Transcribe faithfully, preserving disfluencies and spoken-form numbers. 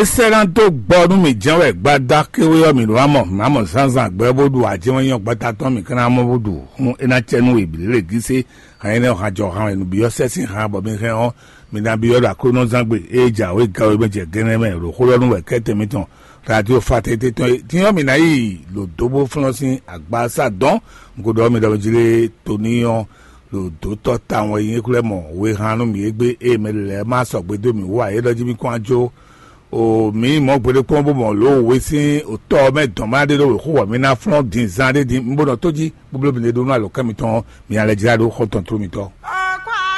É sɛ́ ná dó gbɔ nú mì jɛ́n wɛ gbada kéwé ɔ́, mǐ ɖó ná mɔ, mǐ ná mɔ zǎnzǎn gbɛ bó ɖu ajɛ́nwɛ́nyɔ gbata tɔn mǐ ka ná mɔ bó ɖu hún é ná cɛ nú we bǐ lě gísé. Hǎn énɛ́ ɔ́, hǎn jɔ hǎn wɛ nǔbyɔ́ sɛ́ sín hǎn bɔ mi hɛn ɔ́, mi ná byɔ́ ɖo Aklúnɔzán gbe e jǎwe gawe mɛ jɛ gɛ́nɛ́ mɛ ɖo xó ɖɔ nú wɛ kɛ́tɛn mitɔn. Radio Fatɛ́nte tɔn e din ɔ́, mǐ ná yi lǒ dó bó flɔ́n sín agbasa dɔn. Un ko ɖɔ mi ɖɔ mi jlé to ní ɔ́, ɖo dǒtɔ́ tawun wɛ nyí xwlɛ́ mɔ we han nú mǐ égbé e mɛ lɛ́ɛ ma sɔgbe dó mǐ wú ǎ. É ɖɔ jí mì kɔn ajo o mǐ mɔ gbeɖé kpɔ́n bó mɔ lǒ we sín otɔ́ ɔ́ mɛ dɔn má ɖé ɖó wěxo wɔ mǐ ná flɔ́n din zan ɖé din. Un bó nɔ tó jí bóbló mǐ ɖé ɖó nú alɔkɛ́ mitɔn ɔ́, mǐ ná lɛ́ jlá ɖó xɔ́ntɔn tló mitɔn.